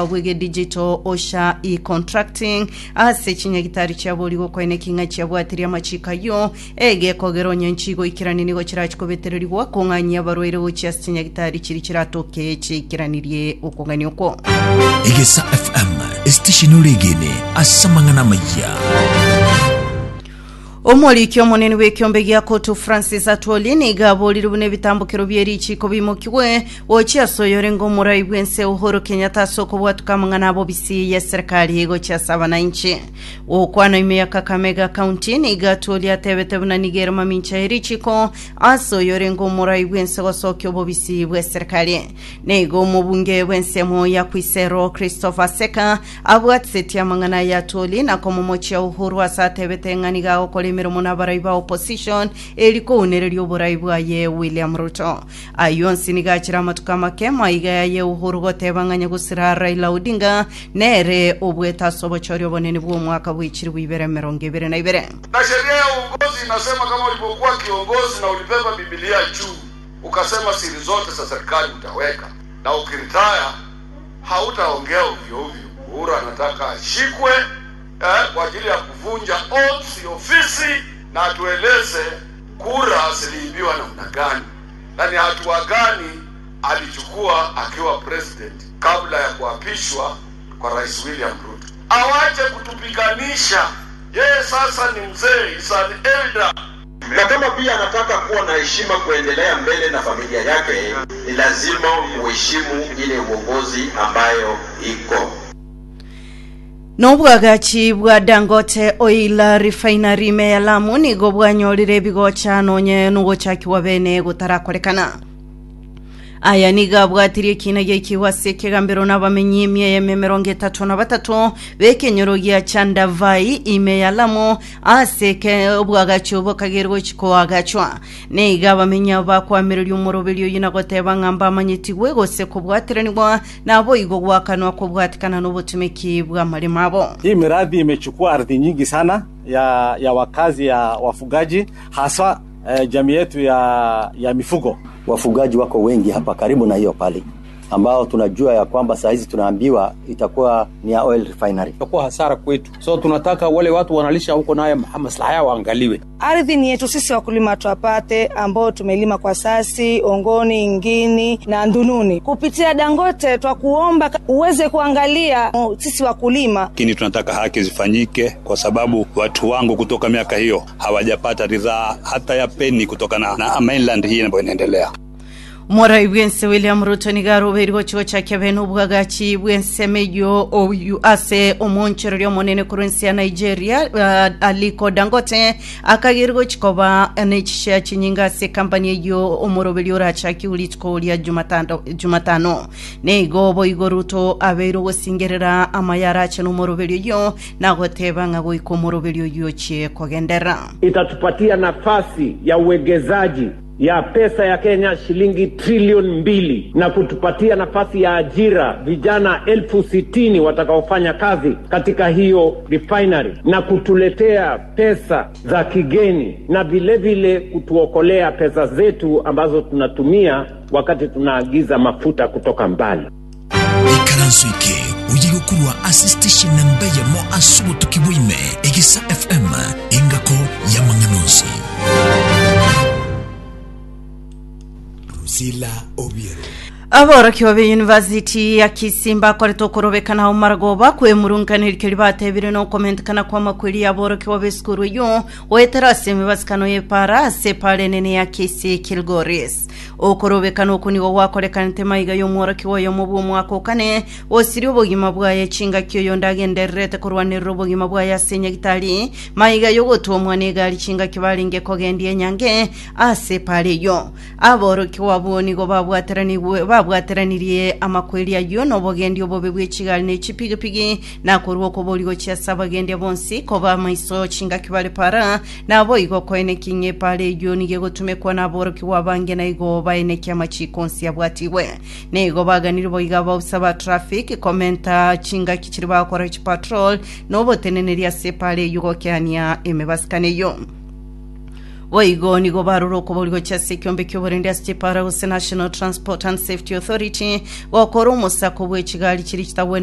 Bw'egedigital OSHA e-contracting ase chinyagitari chiabori gokoena eking'a chiabwatirie amachiko ayio egekogera onye nchigoikerania nigo chirachi kobetererigwa kong'anyia abarwaire gochia ase chinyagitari chiria chiratoke chiaikeranirie okong'ania okwo. Egesa FM, esitesheni oregene ase amang'ana amayia. Omoriki omonene bw'ekiombe gia Kotu Francis Atwoli nigo aborire buna ebitambokero bie richiiko bimokigwe gochia ase oyorenge omorai bw'ense Uhuru Kenyatta ase okobwatuka amang'ana abobisi y'eserekari gochia ase abananchi. Gokwana ime ya Kakamega County nigo Atwoli atebete buna nigo ere mamincha ye richiiko ase oyorenge omorai bw'ense gosokia obobisi bw'eserekari. Nigo omobunge bw'ensemo ya Khwisero Christopher Seka Abwatisetie amang'ana aya Atwoli na komomochia Uhuru ase atebete ng'a nigo agokora emeremo nabarai ba opposition eri kounereria oborai bwaye William Ruto. Ayio onsi nigo achire amatuko amake maiga yaye Uhuru goteba ng'a nyagusira Raila Odinga nere obuete ase obochori obonene bw'omwaka bwe chilifu ibere emerongo ebere na ibere. Na sheria ya uongozi inasema kama ulipokuwa kiongozi na ulibeba Bibilia juu ukasema siri zote za serikali utaweka na ukiritaya hautaongea ovyo ovyo. Uhuru anataka ashikwe eh, kwa ajili ya kuvunja oaths ya ofisi na atueleze kura ziliibiwa namna gani na ni hatua gani alichukua akiwa president kabla ya kuapishwa kwa Rais William Ruto. Awache kutupiganisha. Yeye sasa ni mzee, is an elder. Na kama pia anataka kuwa na heshima kuendelea mbele na familia yake, ni lazima uheshimu ile uongozi ambayo iko. Nobwagachi bwa Dangote Oil Refinery ime ya Lamu nigo bwanyorire ebigocha nonye nogochakigwa bene gotarakorekana. Aya nigo abwatirie ekiina giaikigwe ase ekegambero nabamenyi emia eyemo emerongo etato na batato b'ekenyoro gia Chandavai ime ya Lamu ase eke obwagachi obo kagerwa gochia koagachwa. Nigo abamenyi abo bakoamereria omoroberi oyio na goteba ng'a mbamanyetigwe gose kobwateranigwa naboigo goakanwa kobwatikana nobotumeki bw'amaremo abo. Hii miradi imechukua ardhi nyingi sana ya, ya wakazi ya wafugaji haswa eh, jamii yetu ya, ya mifugo. Wafugaji wako wengi hapa karibu na hiyo pali ambao tunajua ya kwamba saa hizi tunaambiwa itakuwa ni ya oil refinery. Itakuwa hasara kwetu, so tunataka wale watu wanalisha huko naye maslahi yao waangaliwe. Ardhi ni yetu sisi wakulima twapate, ambao tumelima kwa sasi, Ongoni, Ngini na Ndununi. Kupitia Dangote twakuomba uweze kuangalia sisi wakulima. Lakini tunataka haki zifanyike, kwa sababu watu wangu kutoka miaka hiyo hawajapata ridhaa hata ya peni kutokana na mainland hii ambayo inaendelea. Omorai bw'ense William Ruto nigo arobeirwe gochia gochakia bene obwagachi bw'ensemo eyio oyu ase omoonchoreria omonene korwa ense ya Nigeria uh, Aliko Dangote akagerwa gochia koba ne chishare chinyinge ase ekampani eyio omoroberi orachakiwe rituko ria Jumatano, Jumatano. Nigo boigo Ruto abeire ogosingerera amaya arache nomoroberi oyio na goteba ng'a goika omoroberi oyio ochie kogenderera. Itatupatia nafasi ya uwegezaji ya pesa ya Kenya shilingi trilioni mbili na kutupatia nafasi ya ajira vijana 60,000 watakaofanya kazi katika hiyo refinery na kutuletea pesa za kigeni na vilevile kutuokolea pesa zetu ambazo tunatumia wakati tunaagiza mafuta kutoka mbali. Ikaranso eke oye gokorwa ase station namba eyemo ase obotuki bwa ime, Egesa FM, engako y'amang'ana onsi. Drusilla Obiero. Aborokigwa be University ya Kisii mbakorete okorobekana ao maragoba kwemurungana erikeri batebire nokomentekana kwa amakweri y'aborokigwa b'esukuru eyio goetera ase emibasikano y'epara ase epara enene ya Kisii Kilgoris. Okorobekana okwo nigo gwakorekanete maiga y'omworokigwa oyomo bw'omwaka o kane, osirie obogima bwaye chingaki oyonde agendererete korwanerera obogima bwaye ase enyagitari, maiga y'ogotwomwa negari chingaki barenge kogendia enyange ase epaara eyio. Aborokigwa abwo nigo babwateranigwe babwateranirie amakweri ayio nobogendi obobe bwe chigari ne chipigipigi, na korwa okobori gochia ase abagendia bonsi koba amaiso chingaki bare para, Naboigo koenekia ng'a epaara eyio nigo egotumekwa naborokigwa abange na igo baenekie amachiiko onsi abwatigwe. Nigo baganire boigo abaofisa ba traffic komenta chingaki chiria bagokora chipatrol na oboteneneri ase epaara eyio gokeania emebasikano eyio. Boigo nigo barure okoboria gochia ase ekiombe ki'oborendi ase chipara gose National Transport and Safety Authority gokora omosako bwe chigari chiria chitagwenereti.